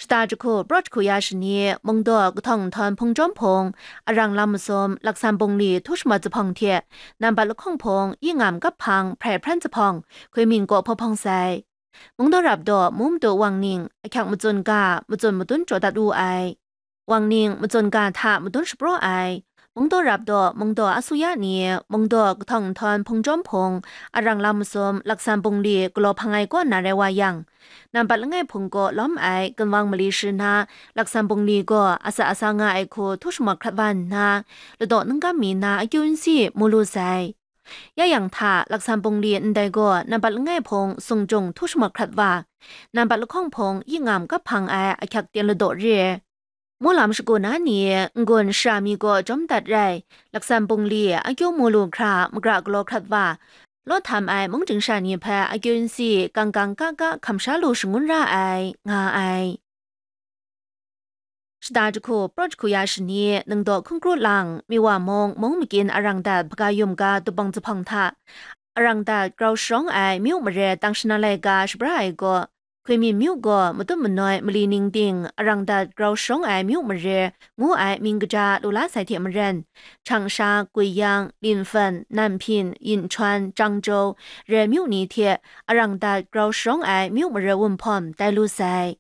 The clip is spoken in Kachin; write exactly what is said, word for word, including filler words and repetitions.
Shata jahku, praw jahku ya shani, mungdaw kahtawng nhtawm hpung jawm hpung, arang lam masum, laksan bungli htu shamat zuphpawng hte, nambat lahkawng hpung, yi ngam kap hpang, hprai hpran zuphpawng, hkui min kaw hpawhpawng sai. Mungdaw rap daw mu madu wang ning, ahkyak matsun ga, matsun madun jaw dat wu ai. Wang ning matsun ga hta madun shapraw ai. Mungdaw rap daw, mungdaw asuya ni, mungdaw kahtawng nhtawm hpung jawm hpung, arang lam masum, laksan bungli galaw hpang ai kaw na rai wa yang, nambat langai hpung kaw lawm ai gunwang mali shi na, laksan bungli gaw asa asa nga ai hku htu shamat hkrat wa nna, ladaw ningkam mi na akyu nsi mu lu sai. Ya yang hta, laksan bungli ndai gaw nambat langai hpung sung jung htu shamat hkrat wa, nambat lahkawng hpung yi ngam kap hpang ai ahkyak ten ladaw re. Mu lam shagu na ni, n-gun shara mi gaw jawm dat rai, laksan bungli akyu mu lu hkra magra galaw hkrat wa, law htam ai mung ting sha ni hpe akyu nsi kang kang ka ka hkam sha lu shangun ra ai, nga ai. Shata jahku, praw jahku ya shani, ningdaw hkungkru lang, miwa mung, mung makyin arang dat hpaga yum ga dubawng zuphpawng hta, arang dat grau sharawng ai myu mare tang shana lai ga shabra ai gaw, hkui min myu gaw matut manoi mali ning ting arang dat grau sharawng ai myu mare ngu ai mying kaja lu la sai hte maren, Changsha, Guiyang, Linfen, Nanhpin, Yinchuan, Changzhou, re myu ni hte arang dat grau sharawng ai myu mare wunhpawm tai lu sai.